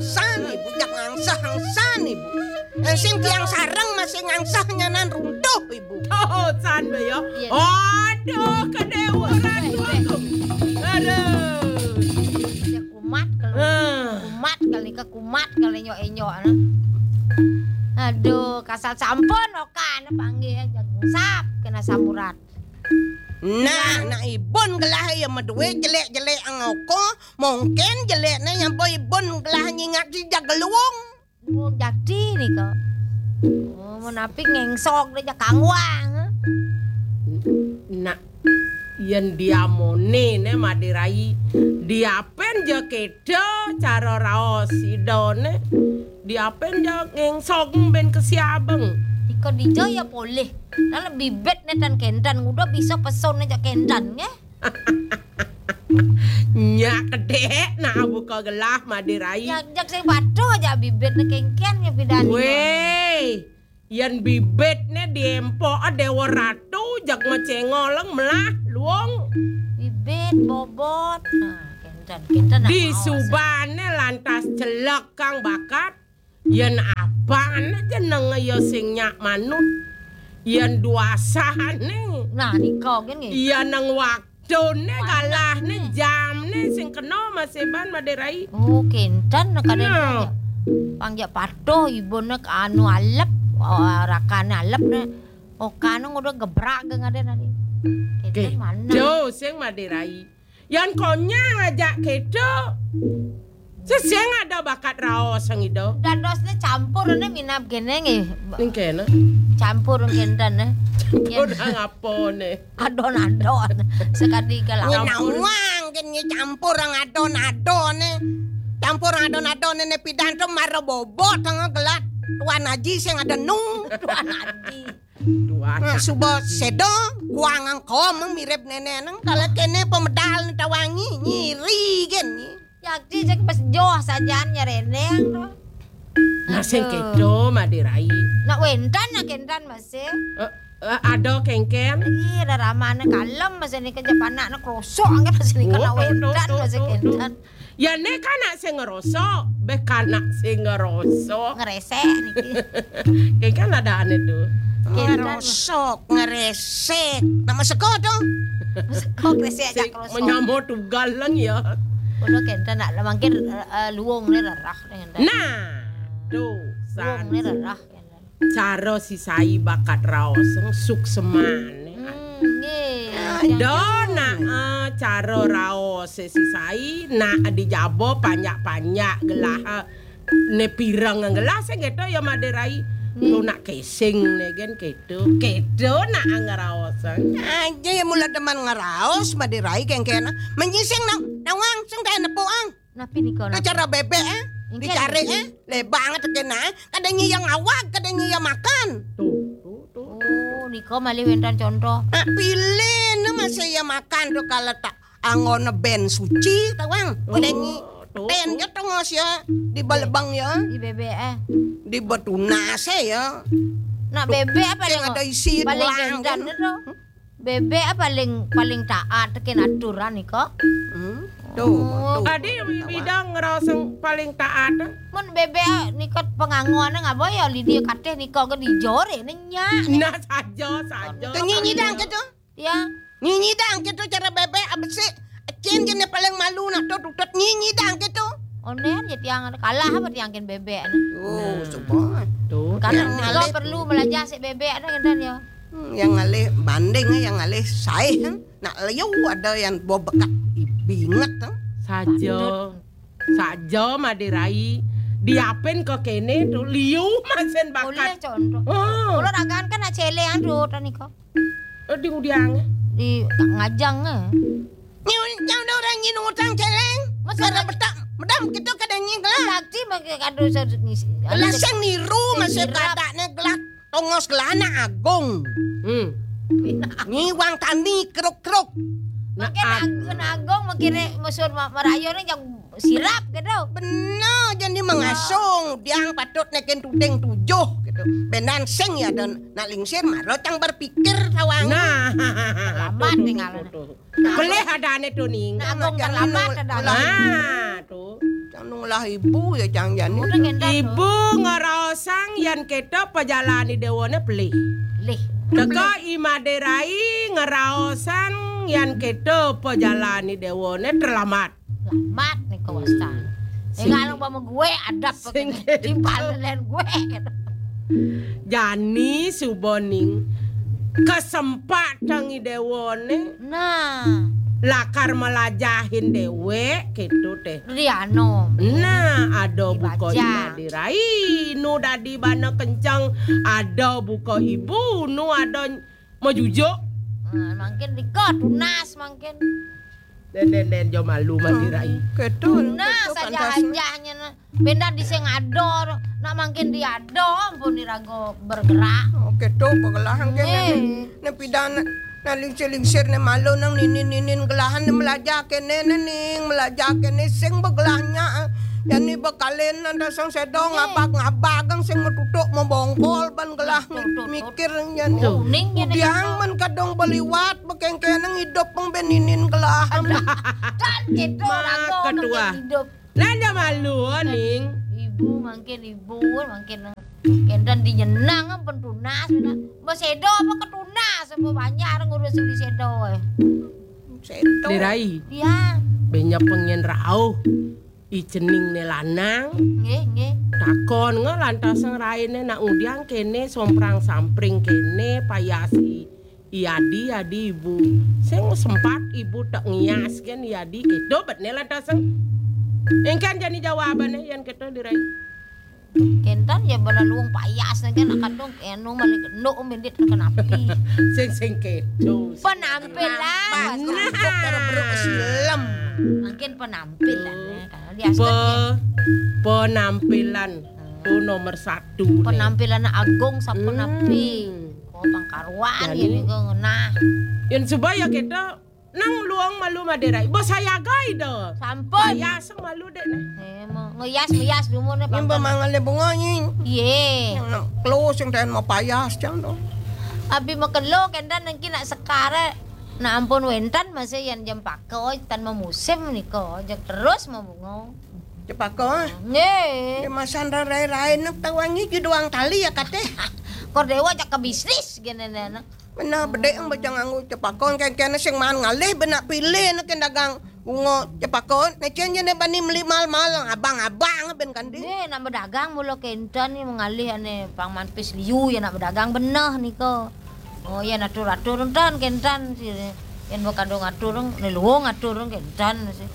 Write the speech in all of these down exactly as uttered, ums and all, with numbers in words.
San ibu, jak ngangsah-ngangsah ibu. Eh, sing tiang sareng masih ngangsah nyanan runtuh ibu. Tuh, san be ya. Iya. Aduh, kedeweran. Weh, weh, weh. Aduh. Ya kumat kalau. Ah. Kumat kali ke kumat kali nyok-enyok, nah. Aduh, kasal sampun okan panggil jak sap kena samurat. Nah, nah ibun gelah ya medue jelek-jelek angoko, mungkin jelekne yang boy ibun gelah nyingat si jageluung. Oh, jadi nih kok. Oh, menapi ngengsok deh jak kangwang. Nak, yen diamone ne Madirai, diapen ja kedo cara raos idone, diapen ja ngengsok ben kesiabeng. Iko dijo ya poleh. Nah, lebih bet ne tan kendan, udah bisa peson aja kendan, nge? Nyak kedek nak buka gelah Madirai. Jak, jak sing patuh aja bibit ne kengken ya pidan. Weh, yen bibit ne diempok Dewa Ratu jak mecengoleng melah luong. Bibit bobot. Nah, kenten, kenten nak. Di mau, subane lantas celek kang bakat. Yen apane jenenge ya sing nyak manut. Yen duasane. Nah, nika nggih. Yen nang waktune, galahne, jamne sing kena maseban Madirai. Oh, kenten kadang. Nah. Pang jak patuh ibune anu alep, oh, rakane alep ne. Okane udah gebrak ge ngaden tadi. Kenten mana? Jo sing Madirai. Yan konyang aja kedo. Seseng ada bakat raos sang ido. Dadosne campur ne minab gene nggih. Ning kene. Campur kenten ne. Campur nang apa ne? Adon-adon. Sekali ke lampur. Nawang kene campur nang adon-adon ne. Campur adon-adon ne pidan to mara bobot nang gelat. Tuan Haji sing ada nung. Tuan Haji. Nah, suba sedo kuangang kom mirip nene nang kalau kene pemedal tawangi nyiri gen. Yakti cek pas joh sajaan nyerendeng to. Nah, sing kedo Madirai. Nak wentan nak kentan masih. Eh, eh, ada kengken. Iya, ada ramane kalem masih ni kerja panak nak krosok angkat masih ni kena wentan masih kentan. Ya ne kan nak sing ngerosok, be kan nak sing ngerosok. Ngeresek niki. Kayak kan ada ane tuh. Ngerosok, ngeresek. Nama seko tuh? Seko ngeresek aja krosok. Menyamo tugal lang ya. Kulo kenten nak mangkin, eh, luwung ne rerah ne. Nah, tuh, luwung ne rerah kenten. Cara si Sai bakat raos suksemane. Hmm, nggih. Do nak, eh, cara raos si Sai nak dijaba panjak-panjak gelah, eh, ne pireng gelah sing gitu ya Madirai. Nggih. Tu nak kesing ne gen gitu. Gitu nak ngeraos. Aja ya mula demen ngeraos Madirai kengkena. Menyising nang nawang sing teh nepuk ang. Napi nika? Napi? Cara bebek, eh? Inggih. Dicari, eh? Lebang tekan, eh? Kadang nyiyang awak, kadang nyiyang makan. Tuh, tuh, tuh. Oh, nika malih wénten contoh. Ah, pilih ne masih ya makan tuh kalau tak angon ben suci, tawang. Oh, kadang nyi tuh, ben tuh. Ya tengos ya di balebang ya. Di bebek, eh. Di betunas ya. Nak bebek apa yang ada isi paling tulang kendan kan? Itu? Bebek ah paling, paling taat tekan aturan nika. Hmm. Tuh, oh, tuh. Tadi bidang ngerasa paling taat. Mun bebek ah nika pengangone ngapa ya Lidia kateh nika ke dijore nenya. Nah, saja, saja. Tuh nyinyi dang gitu. Ya. Nyinyi dang gitu cara bebek abesik. Cin jenis paling malu nak tuh tutut nyinyi dang gitu. Onen ya tiang kalah apa tiang ken bebek. Oh, nah. Coba. Tuh. Karena nika perlu belajar si bebek ada kan ya. Hmm, yang ngalih banding, yang ngalih saih, kan? Nak liu ada yang bawa bekat binget, kan? Saja. Patut. Saja Madirai. Diapin ke kene tuh liu masin bakat. Boleh contoh. Oh. Kalau ragaan kan nak celean tuh tadi kok. Eh, di udiang. Di ngajang eh. Nyau nyau ada orang nyin utang celeng. Masa cara betak medam kita kadang nyin gelah. Sakti bagi kado ngisi. Gelah sing niru masih kadakne gelah. Tongos kelana agung. Hmm. Nyiwang tani keruk-keruk. Makin agung, agung makin musuh merayu ni yang sirap gitu. Benar, jadi mengasung diang patut nekin tuding tujuh gitu. Benan sing ya dan nak lingsir maro tang berpikir tawang. Nah, terlambat tinggal. Pelih ada ane tuning. Nak agung terlambat ada. Ah, tuh. Tang nu ngelah ibu ya cang jani. Udah ngendang. Ibu ngeraosang yan keto pajalan i dewane pelih. Lih. Teka i Madé Rai ngeraosang yan keto pajalan i dewane terlambat. Lambat nih kawasan. Sing. Enggak lu sama gue adab sing pakai keto. Timpal lain gue. Jani suba ning kesempatan i dewane. Nah. Lakar melajahin dewek, gitu teh. Riano. Nah, ada buka dibaca. Imah dirai, nu dadi bana kenceng, ada buka ibu, nu ada majujuk. Nah, makin dika tunas makin. Den, den, den, jo malu mah dirai. Gitu. Nah, gitu saja pantasnya. Ajahnya nah. Bendan di sing ado, nak mangkin di ado, ampun dirago bergerak. Oke, tuh, pagelahan kene. Eh. Ne, ne pidan, ne lingsir-lingsir, ne malu nang ninin-ninin gelahan, ne melajah kene, ne ning, melajah kene, sing begelahnya, eh. Jani bekalen nanda sang sedong, eh. Ngabag-ngabag, ang sing metutuk, membongkol, ban gelah, tuh, tuh, tuh. Mikir, jani. Tuh. Ning, jani. Udiang men kadong beliwat, bekengkeneng hidup, peng beninin gelahan. Ada. Dan gitu, mak rago, ketua. Mangkin hidup. Lah, dah malu, ning. Ibu, mangkin ibu, mangkin kenten dinyenang, ampun tunas, bener. Mbok sedo apa ketunas, apa banyak orang ngurus di sedo, eh. Sedo. Dirai. Iya. Banyak pengen rauh. I cening ne lanang. Nggih, nggih. Takon nge lantas raine nak ngudiang kene, somprang sampring kene, payasi. Iadi, iadi ibu. Sing sempat ibu tak ngias kan iadi. Itu bet ne lantas sing. Engkan jani jawabane yan keto dirai. Kenten ya bala luung payas ne kan akan dong enu malik enduk mendit kenapi. Sing, sing keto. Penampilan. Nah. Untuk para beruk silem. Mungkin penampilan ya, karena dia pe-, penampilan. Tuh nomor satu nih. Penampilan agung sapenapi. Hmm. Oh, pangkaruan. Jani. Ini kok ngenah. Yan supaya kita nang luang malu Madé Rai. Bos saya gai do. Sampun. Payas malu dek nah. Eh, mau ngeyas, ngeyas dulu nih, nyimba pangkal. Mangalih bunga nyi. Iye. Yang nang close yang tahan mau payas cang do. Abi makelo kendan nengki nak sekare. Nah, ampun wenten masih yan jam pako tan memusim niko, jak terus mau bunga. Cepaka, ah. Nggih. Dia masan rai-rai nak tawangi ju doang tali ya kate. Kor dewa jak ke bisnis gini nih, nah. Bener bedek yang baca nganggo cepaka, kene-kene sing man ngalih benak pilih nak dagang bunga cepaka. Necen je ne bani meli mal-mal abang-abang ben kandi. Nggih, nak bedagang mula kenten ni mengalih ane pang manpis liu ya nak bedagang beneh nika. Oh, yan atur-atur entan, kentan, si, yan baka dong atur, ne luung atur, kentan, si.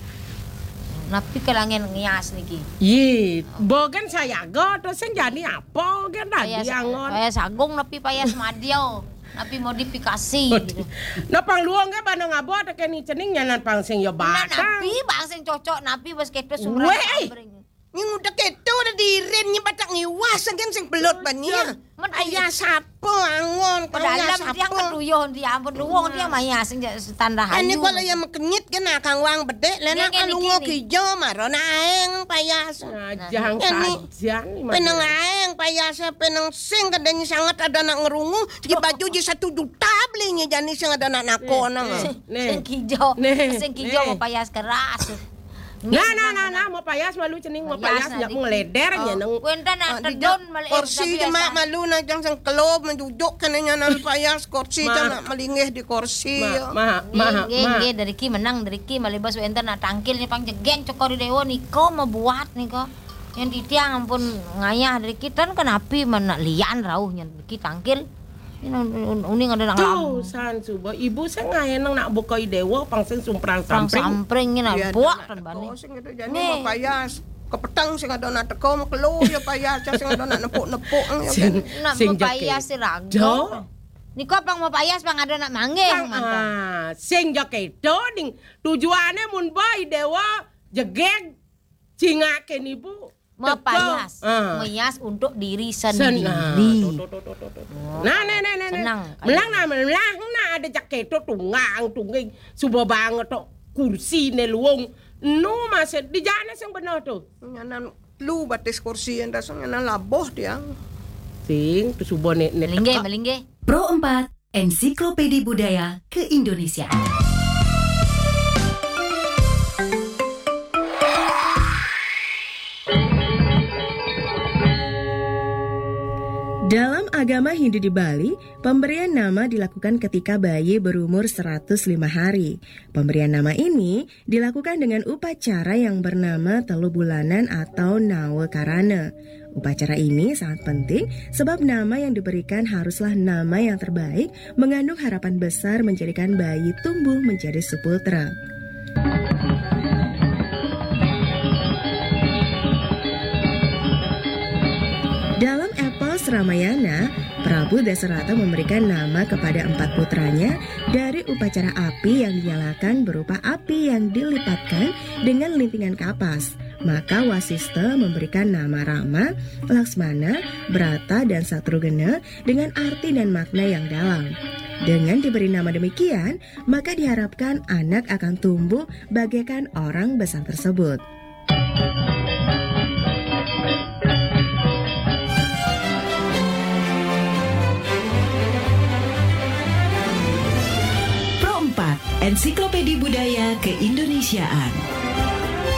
Napi ke langen ngias niki? Ye, bogen sayaga, terus sing jani apa, gen tadi payas, angon. Payas agung, napi payas madio, napi modifikasi, gitu. Nah, pang luung ke bana ngabo, ada keni cening, nyanan pang sing yo. Nah, batang. Napi, bang sing cocok, napi bos keto sumrah. Weh. Abring. Nyi nguda keto udah diirin nyi batak ngiwas agen sing belut bani. Payas sapa angon, payas sapa? Dia ampun luwung dia maya sing standar. Ini kalau yang mekenyit kan akang wang bedek, lena kan lungo kijo maro na aeng payas. Nah, jang sajan. Peneng aeng payas, peneng sing kadang sangat ada nak ngerungu, di baju di satu juta belinya jani sing ada nak nakon. Sing kijo, sing kijo mau payas keras. Nah, nah, nah, nah, mau payas malu cening, mau payas, nyak mau ngeleder, nyeneng. Wenten, ah, tedon malu, kursi cuma malu nah jang sing kelo menjujuk kene nyanan payas kursi cuma melinggih di kursi. Ma, ma, ma, nggih, nggih, dari ki menang, dari ki malibas wenten, nah, tangkil ni pang jegeng cokor dewa niko mau buat niko. Yang titiang ampun ngayah dari ki tan kenapi mana lian rauh nyan dari ki tangkil. Ini un-, un-, uning ada nang tuh, lamu. San suba, ibu sing ngaeneng nak buka i dewa, pang sing sumprang sampring. Sampring ini nak buak tan bani. Sing itu jani mau payas. Kepetang sing ada nak teko, mau kelo ya payas, sing ada nak nepuk-nepuk, ya sing, kan? Nak mau payas si rago. Niko pang mau payas, pang ada nak manggeng, pang, mantap. Ah, sing jakedo, ning. Tujuannya mun ba i dewa, jegeg, cingak keni bu. Mepayas, ah. Meyas untuk diri sendiri. Nah, tuh, tuh, tuh. Oh, nah, nah, nah, nah, nah. Senang. Melang, nah, melang, nah, ada jaketo tunggang, tungging, suba banget tok kursi ne luung. Nu masih di jana sing bener tuh. Nyanan lu batis kursi yang dasar nyanan laboh dia. Sing, tuh suba ne, ne melinggih, teka. Melinggih. Pro empat, Ensiklopedi Budaya Keindonesiaan. Dalam agama Hindu di Bali, pemberian nama dilakukan ketika bayi berumur seratus lima hari. Pemberian nama ini dilakukan dengan upacara yang bernama telu bulanan atau nawa karana. Upacara ini sangat penting sebab nama yang diberikan haruslah nama yang terbaik, mengandung harapan besar menjadikan bayi tumbuh menjadi suputra. Dalam epos Ramayana, Prabu Dasarata memberikan nama kepada empat putranya dari upacara api yang dinyalakan berupa api yang dilipatkan dengan lintingan kapas. Maka Wasista memberikan nama Rama, Laksmana, Brata, dan Satrugena dengan arti dan makna yang dalam. Dengan diberi nama demikian, maka diharapkan anak akan tumbuh bagaikan orang besar tersebut. Pro empat, Ensiklopedia Budaya Keindonesiaan.